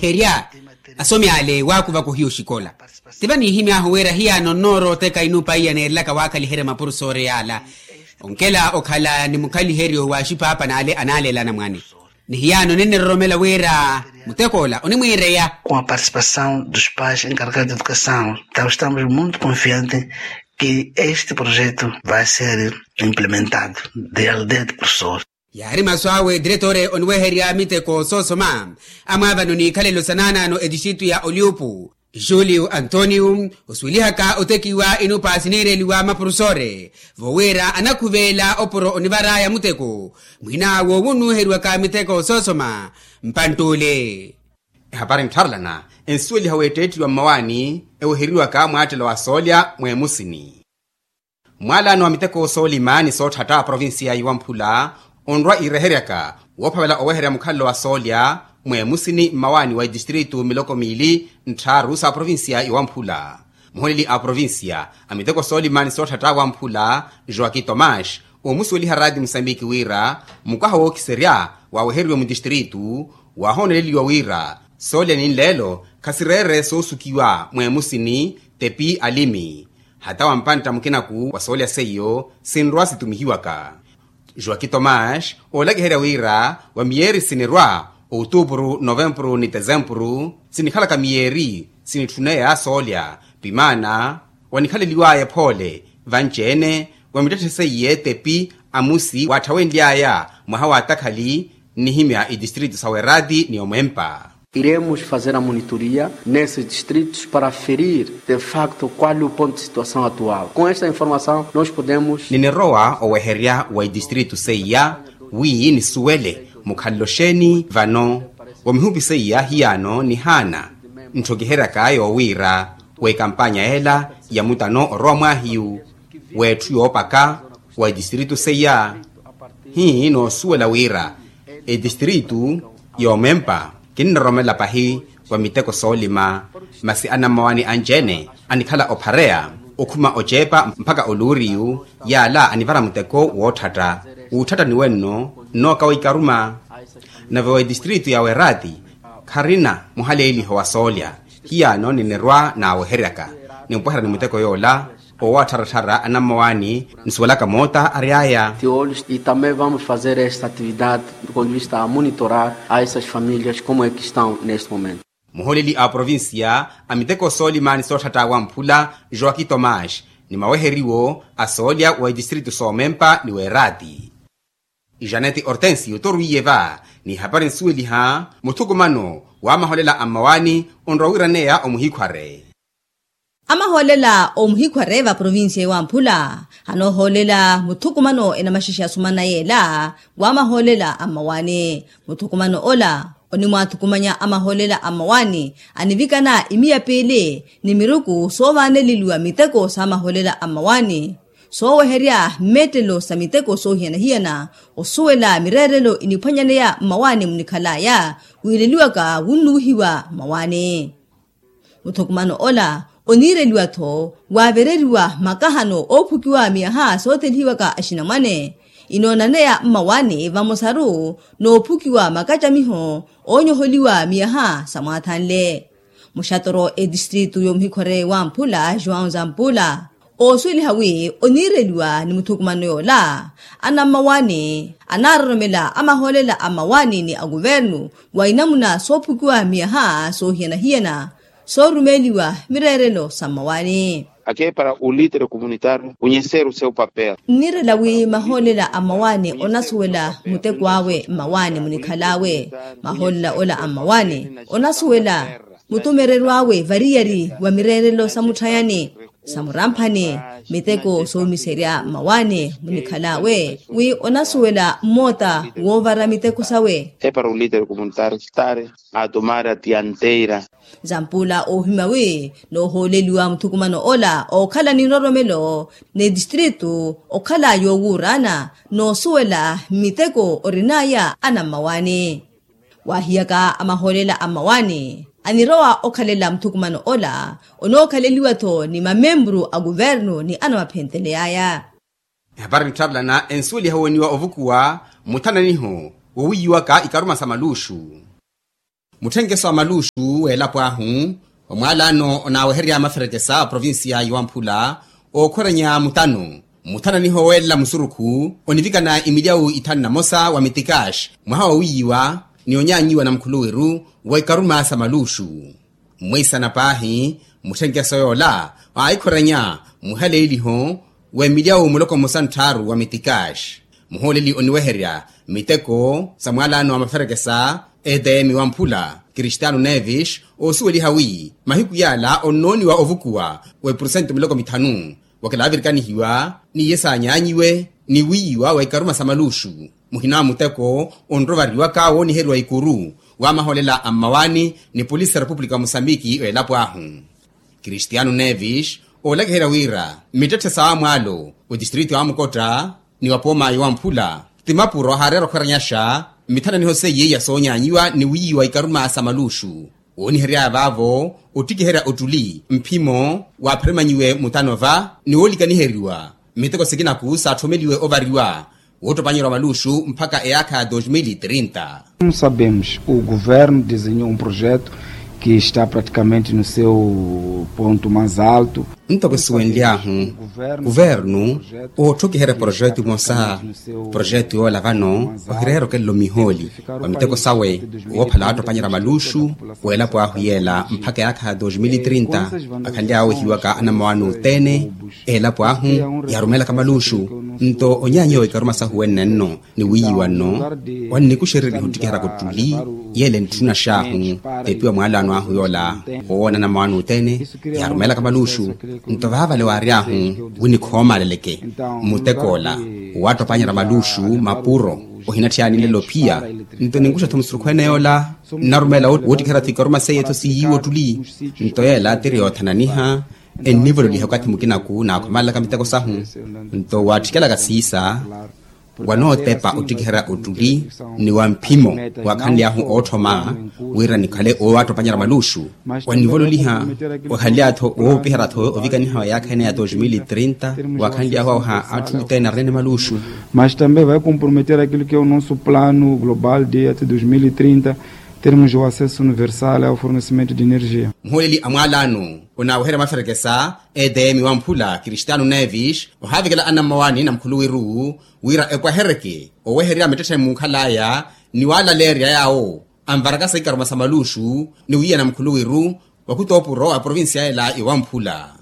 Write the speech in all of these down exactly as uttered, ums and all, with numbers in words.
Herya asomi ale waakuvaku hiyo oxikola. Tiva niihimy'ahu wira hiyaano nnoorooteka inuupa iya neerelaka waakhaliherya mapurusoore yaala. Onkela okhala ni mukhaliheryo wa axipaapan'ale anaaleela anamwane. Ni hiyaano niniroromela wira mutek'ola onimwiireya. Com a participação dos pais encarregados de educação, então estamos muito confiantes que este projeto vai ser implementado de aldeia de professores. Yaari masu awe diretore oniweherya miteko soosoma. Amwaavano n'ikhalelo sa naanaano etistritu ya oliupu, julio antonio osuwelihaka otekiwa inupaasi niireliwa mapurusoore, vowiira anakhuveela opuro onivar'aya muteko. Mwiin'awo wunnuuheriwaka miteko soosoma mpantt'ule. Ehapari nttharelana ensuweliha w'etteettiwa mmawaani eweheriwaka mwaattelo wa soolya mweemusini. Mwalaano wa miteko soolima ni sootthatta a provincia ya iwamphula onrwa iireheryaka woophavela oweherya mukhalelo wa soolya mweemusini mmawaani wa etistritu miloko miili nttharu sa provincia ya iwamphula. Muholeli a provincia a miteko soolima ni sootthatta wamphula joaki tomas omusuweliha raati musambiki wira mukwaha wookiserya waaweheriwe mutistritu waahooneleliwa wira soolya ni nleelo khasireere soosukiwa mweemusini tepi alimi. Hata wampantta mukinaku wa soolya seiyo sinrwa situmihiwaka. Joaki tomas oolakiherya wira wa miyeeri sinirwa outupuru novempuru ni tesempuru sinikhalaka miyeeri sinitthuneya soolya pimaana wanikhaleliw'aya ephoole vanci-ene wa mittetthe seiye tepi amusi waatthawenly'aya mwaha wa takhali nnihimya itistritu sa werati ni omwempa. Iremos fazer a monitoria nesses distritos para ferir de facto qual o ponto de situação atual com esta informação nós podemos. Ninirowa oweherya wa itistritu seiya wi nisuwele mukhalelo xeeni vano wa mihupi seiya hiyaano nihaana ntthokiheryaka yoowiira w'ekampanya ela ya mutano orowa mwaahiyu w'etthu yoopaka wa itistritu seiya. Hii noosuwela wira etistritu yoomempa kinniroromela pahi wa miteko soolima masi anammawaani anci-ene anikhala ophareya okhuma oceepa mpakha oluuriyu yaala anivara muteko wootthatta wuutthattani wenno nnooka wa ikaruma. Nave wa etistritu ya werati kharina muhaleeliho wa soolya hiyaano ninirwa naaweheryaka nimpweherya ni muteko yoola owattharattharya anammawaani nsuwelaka moota ary'aya. Tiolus e também vamos fazer esta atividade do ponto de vista a monitorar a essas famílias como é que estão neste momento. Muholeli a provincia a miteko soolima ni sootthatta wamphula joaki tomas ni maweheriwo a soolya wa itistritu soomempa ni weerati. Janete hortensio torwiye va ni hapari nsuweliha muthukumano wa maholela a mmawaani onrowa wiraneya omuhikhware. Amahoolela omuhikhware va provincia ewamphula anoohoolela muthukumano enamaxexe asumana yeela wa amahoolela a mmawaani. Muthukumano ola onimwaathukumanya amahoolela a mmawaani anivikana imiya piili ni miruku soovaaneleliwa miteko sa amahoolela a mmawaani sooweherya mmeettelo sa miteko soohiyana-hiyana osuwela mireerelo iniphwanyaneya mmawaani munikhalaya wiileliwaka wunnuuhiwa mmawaani. Muthukumano ola oniireliwa-tho waavereriwa makahano oophukiwa miyaha soothelihiwaka axinamwane inoonaneya mmawaani vamosaru noophukiwa makacamiho oonyoholiwa miyaha sa mwaathanle. Muxatoro etistritu yomuhikhore wamphula joão zampula oosuweliha wi oniireliwa ni muthukumano yoola anammawaani anaaroromela amahoolela a mmawaani ni a kuvernu wa inamuna soophukiwa miyaha soohiyana-hiyana soorumeeliwa mireerelo sa mmawaani. Aqui é para o líder comunitário conhecer o seu papel. Nniirela wi mahoolela a mmawaani onasuwela muteko awe mmawaani munikhal'awe. Mahoolela ola a mmawaani onasuwela mutumereryo awe variyari wa mireerelo sa mutthayani sa muramphani miteko soomiserya mmawaani munikhal'awe wi onasuwela mmoota woovara miteko sawe. É para o líder comunitário estar a tomar a dianteira. Zampula oohimya wi noohooleliwa muthukumano ola ookhala ni nroromelo ni tistritu okhala yoowuuraana noosuwela miteko orin'aya anammawaani. Waahiyaka amahoolela a mmawaani anirowa okhalela muthukumano ola onookhaleliwa-tho ni mamemburu a kuvernu ni anamaphenteley'aya. Ehapari nttharelana ensuweliha wooniwa ovukuwa muthananiho wowiiwaka ikaruma sa maluuxu. Mutthenkeso a maluuxu w'elapo ahu omwalaano onaaweherya maferekesa a provincia yowamphula, ookhwerenya mutano muthananiho weelela musurukhu onivikana imilyawu ithanu na mosa wa mitikaxi mwaha wa wiiyiwa ni onyaanyiwa na mukhuluwiru wa ikaruma sa maluuxu. Mmwiisana paahi, mutthenkeso yoola waahikhwerenya muhaleeliho w'emilyawu muloko mmosa ntthaaru wa mitikaxi. Muhooleli oniweherya miteko sa mwalaano wa maferekesa, etm wa mphula, kristiano nevis, oosuweliha wi mahiku yaala onnooniwa ovukuwa w'epursento miloko mithanu, wakilaavirikanihiwa n'iye saanyaanyiwe ni wiiyiwa wa ikaruma sa maluuxu. Muhina wa muteko onrovariwaka wooniheriwa ikuru wa mahoolela a mmawaani ni polisi ya repupulika wa musambiki w'elapo ahu. Kristiano nevis, oolakiherya wira mittetthe sa wamwaalo w'etistritu ya wamukotta ni wa pooma yowamphula ti mapuro haareera okhweranyaxa mithananiho seiye ya soonyaanyiwa ni wiiyiwa ikaruma sa maluuxu. Wooniheryaya vaavo ottikiherya ottuli mphimo waapheremanyiwe mutano va ni woolikaniheriwa miteko sikinaku saatthoomeliwe ovariwa woottopanyerya wa maluuxu mpakha eyaakha ya dos mil e trinta. Como sabemos, o governo desenhou um projeto que está praticamente no seu ponto mais alto. Ntoko esuwenly'ahu, kuvernu ootthokiherya projeto emosa. Projeto yoola vano ohireera okelela omihooli wa miteko sawe woophala waattopanyerya maluuxu w'elapo ahu yeela mpakha eyaakha ya dos mil e trinta. Akhanly'awe ohiwaka anammawaani othene elapo ahu yaarumeelaka maluuxu. Nto onyaanyiwa wa ikaruma sahu wenenno ni wiiyiwa nno wannikuxereriha ottikiheryaka ottuli yeele ntthuna xaahu. Epiwa mwalaano ahu yoola owoona anammawaani othene yaarumeelaka maluuxu. Nto vaavale waary'ahu wi nikhoomaaleleke muteko ola owaattopanyerya maluuxu mapuro ohinatthiyani nlelo phiya. Nto ninkuxa-tho musurukhu ene yoola nnarumeela woottikiherya-tho ikaruma seiye-tho siiyiiwa ottuli. Nto yeela tiri yoothananiha ennivololiha okathi mukinaku naakhomaalelaka miteko sahu. Nto waattikelaka siisa wanootepa ottikiherya ottuli ni wa mphimo waakhanly'ahu ootthoma wira nikhale owaattopanyerya maluuxu. Wannivololiha wakhanly'awe-tho woopiherya-tho ovikaniha wa eyaakha ene ya dos mil e trinta. Waakhanly'ahu aweha atthu othene arinene maluuxu. Mas também vai comprometer aquilo que é o nosso plano global de até dos mil e trinta termos o acesso universal ao fornecimento de energia. Muhooleli a mwalaano onaaweherya maferekesa etm wa mphula kristiano nevis ohaavekela anammawaani na mukhuluwiru wira epwahereke oweherya mittetthe muukhal'aya ni waalaleerya yaawo anvarakasa ikaruma sa maluuxu ni wiiyana mukhuluwiru wa khutoopuro a provincia ela yowamphula.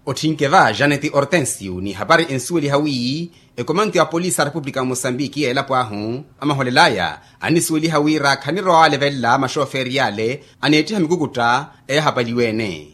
Otthinke va janeti hortensio ni ehapari ensuweliha wi ekomanto ya polisi a repupulika ya mosambiki ya elapo ahu amaholel'aya annisuweliha wira khanirwa waalevelela maxoferi yaale aneettiha mikukutta eyahapaliwe-ene.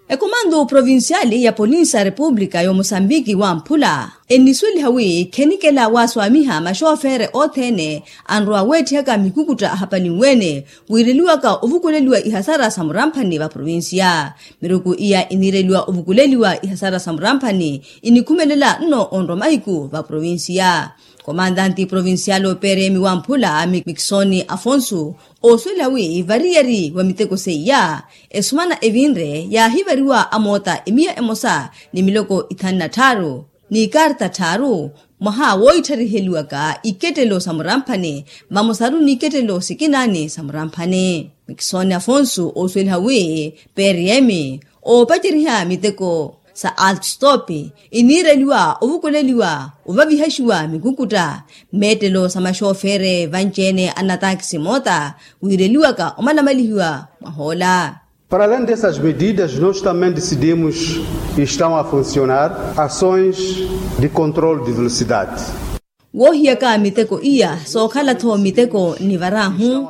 Ekomando provinciali ya polinsi a repupulika ya omosambiki wamphula ennisuweliha wi khenikela waaswaamiha maxofere othene anrowa weetthihaka mikukutta ahapalinwe-ene wiireliwaka ovukuleliwa ihasara sa muramphani va provincia. Miruku iya iniireliwa ovukuleliwa ihasara sa muramphani inikhumelela nno onrwa mahiku va provincia. Komandanti provincial operemi wamphula mikisoni afonsu oosuwela wi variyari wa miteko seiya esumana evinre yaahivariwa amoota emiya emosa ni miloko ithanu na tthaaru ni ikarta tthaaru mwaha wooitthariiheliwaka ikettelo sa muramphani vamosaru ni ikettelo sikinaani sa muramphani. Mikisoni afonsu oosuweliha wi prm oopaceriha miteko sa altstop iniireliwa ovukuleliwa ovavihaxiwa mikukutta meettelo sa maxofere vanci-ene a natakisi moota wiireliwaka omalamalihiwa mwahoola. Para além dessas medidas nós também decidimos e estão a funcionar ações de controle de velocidade. Woohiyaka miteko iya sookhala-tho miteko nivarahu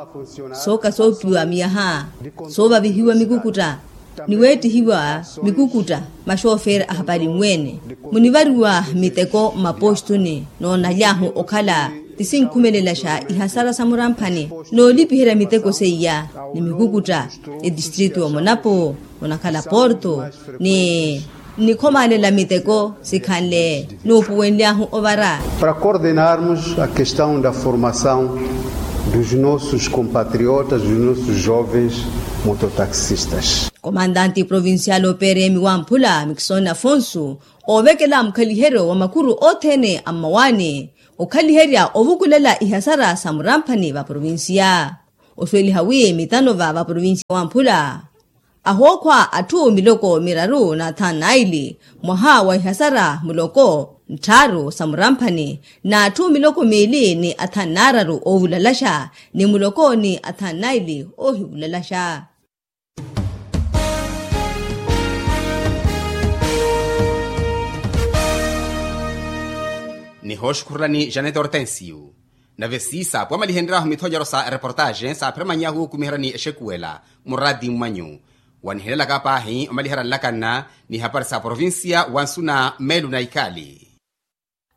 sooka soopiwa miyaha soovavihiwa mikukutta ni weettihiwa mikukutta maxoferi ahapalinwe-ene munivariwa miteko mmapostuni noonaly'ahu okhala ti sinkhumelelaxa ihasara sa muramphani noolipiherya miteko seiya ni mikukutta etistritu omonapo onakhala porto ni nnikhomaalela miteko sikhanle nuupuwenly'ahu ovara. Para coordenarmos a questão da formação dos nossos compatriotas dos nossos jovens mototaxistas. Komandanti provincial operemi wamphula mikisoni afonsu oovekela mukhaliheryo wa makuru othene a mmawaani okhaliherya ovukulela ihasara sa muramphani va provincia. Osuweliha wi mitano va vaprovincia wamphula ahookhwa atthu miloko miraru na athanu naili mwaha wa ihasara muloko ntthaaru sa muramphani, na atthu miloko miili ni athanu naararu oovulalaxa ni muloko ni athanu naili oohivulalaxa. Nihooxukhurulani janet hortensio. Nave siisa pwamalihenry'ahu mithonyero sa reportaxe saaphira many'ahu okumiheryani exekuwela muraati mmanyu. Wanihelelaka paahi omaliherya nlakanna ni hapari sa provincia wa nsuna meelu na ikali.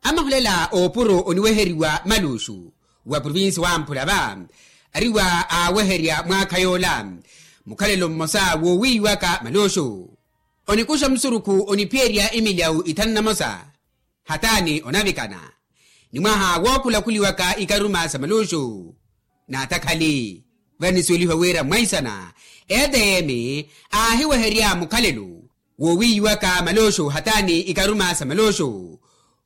Amahulela oopuro oniweheriwa maluxu wa provincia wamphula va ariwa aaweherya mwaakha yoola mukhalelo mmosa woowiiwaka maluxu. Onikuxa musurukhu oniphiyerya imilyawu ithanu na mosa hataani onavikana ni mwaha wookhulakhuliwaka ikaruma sa maluxu. Naatakhali vanisuwelihiwa wira mwaisana etm aahiweherya mukhalelo woowiiwaka maluxu hataani ikaruma sa maluxu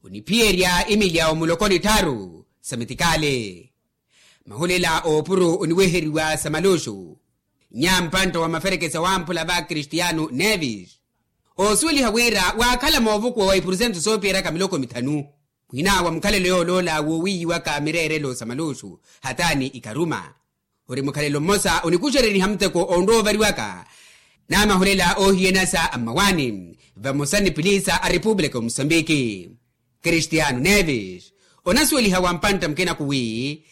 oniphiyerya imilyawu muloko ni tthaaru sa mitikali. Mahulela oopuro oniweheriwa sa maluxu nyampantta wa maferekesa wamphula va kristiano nevis oosuweliha wira waakhala moovukuwa wa ipursentu soopiyeryaka miloko mithanu muhina wa mukhalelo yooloola woowiiwaka mireerelo sa maluxu hataani ikaruma. Ori mukhalelo mmosa onikuxereriha muteko onrowa ovariwaka n'amahulela oohiyanasa a mmawaani vamosa ni piliisa a repupulika omusambiki. Kristiano nevis onasuweliha wa mpantta mukinaku wi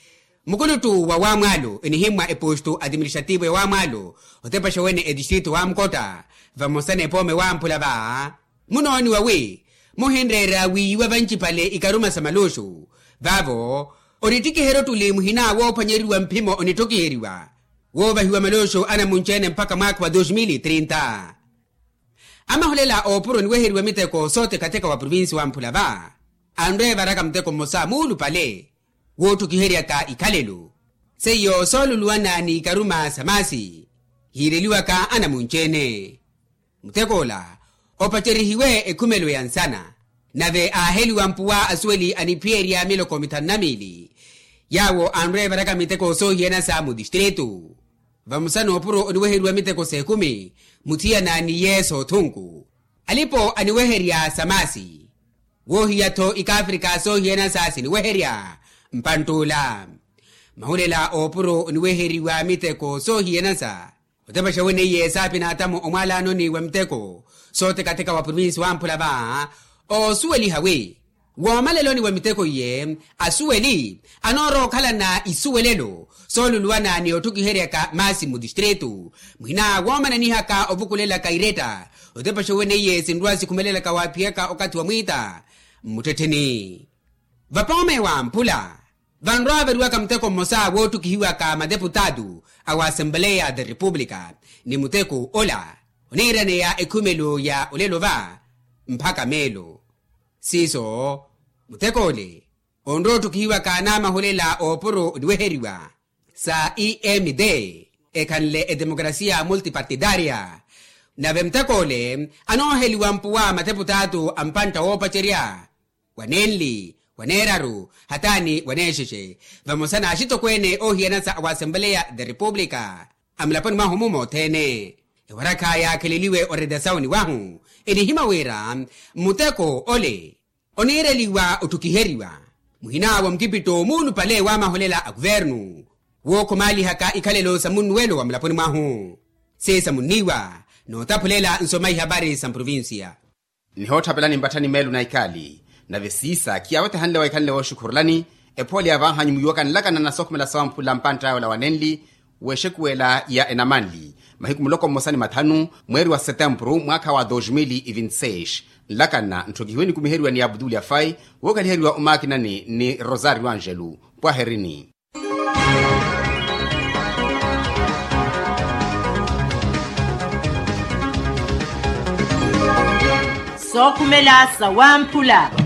mukuluttu wa wamwaalo enihimmwa eposto atiministrativo ya wamwaalo otepaxa wene etistrito wa mukotta vamosa n'epoome wamphula va munooniwa wi muhinreera wiiwa vancipale ikaruma sa maluxu. Vaavo onittikiherya ottuli muhina woophwanyeriwa mphimo onittokiheriwa woovahiwa maluxu anamunci-ene mpakha mwaakha wa dos mil trinta. Amahulela oopuro oniweheriwa miteko sootekateka wa provincia wamphula va anreevaraka muteko mmosa muulupale wootthukiheryaka ikhalelo seiyo sooluluwana n'ikaruma sa maasi hiireliwaka anamunci-ene. Mutek'ola opacerihiwe ekhumelo ya nsana nave aaheliwa mpuwa asuweli aniphiyerya miloko mithanu na miili yaawo anreevaraka miteko soohiyanasa mutistritu. Vamosa n'opuro oniweheriwa miteko s'ekumi muthiyana n'iye s'othunku alipo aniweherya sa maasi woohiya-tho ikaafrika soohiyanasa siniweherya mpantt'ula. Mahulela oopuro oniweheriwa miteko soohiyanasa otepaxa weneiye saapinaatamu omwaalaanoni wa miteko sootekateka wa provincia wamphula va oosuweliha wi woomaleloni wa miteko iye asuweli anoorowa okhalana isuwelelo sooluluwana ni otthukiheryaka maasi mmutistritu muhina woomananihaka ovukulelaka iretta otepaxa weneiye sinrwa sikhumelelaka waaphiyaka okathi wa mwiita mmuttettheni. Vapoome wamphula vanrwa-avariwaka muteko mmosa wootthukihiwaka mateputaatu a wa assembleya de repupulika ni muteko ola oniiraneya ekhumelo ya olelo va mpakha meelo. Siiso muteko ole onrowa otthukihiwaka n'amahulela oopuro oniweheriwa sa emd ekhanle edemokrasia multipartidaria. Nave muteko ole anooheliwa mpuwa mateputaatu a mpantta woopacerya wa nenli wa neeraru hataani wa neexexe vamosa n'axitokweene oohiyanasa a wa assembleya de repupulika a mulaponi mwahu-mu mothene. Ewarakha yaakheleliwe oretasawuni wahu enihimya wira muteko ole oniireliwa otthukiheriwa muhina wa mukipitto muulupale w'amaholela a kuvernu wookhumalihaka ikhalelo sa munnuwelo wa mulaponi mwahu siisamunniwa nootaphulela nsoma ihapari sa mprovincia. Nihootthapelani mpatthani meelu na ikaali nave siisa khiyawetehanle wa ikhanle wooxukhurulani ephooli ya vaahanyu muiwaka nlakana na sookhumela sawamphula mpantta yoola wa nenli w'exekuwela ya enamanli mahiku muloko mmosa ni mathanu mweeri wa setempuru mwaakha wa dos mil e vinte e seis. Nlakana ntthokihiwe nikumiheriwa ni abdul afai wookhaliheriwa omaakinani ni rosario angelo. Pwaherini. Sookhumela sawamphula.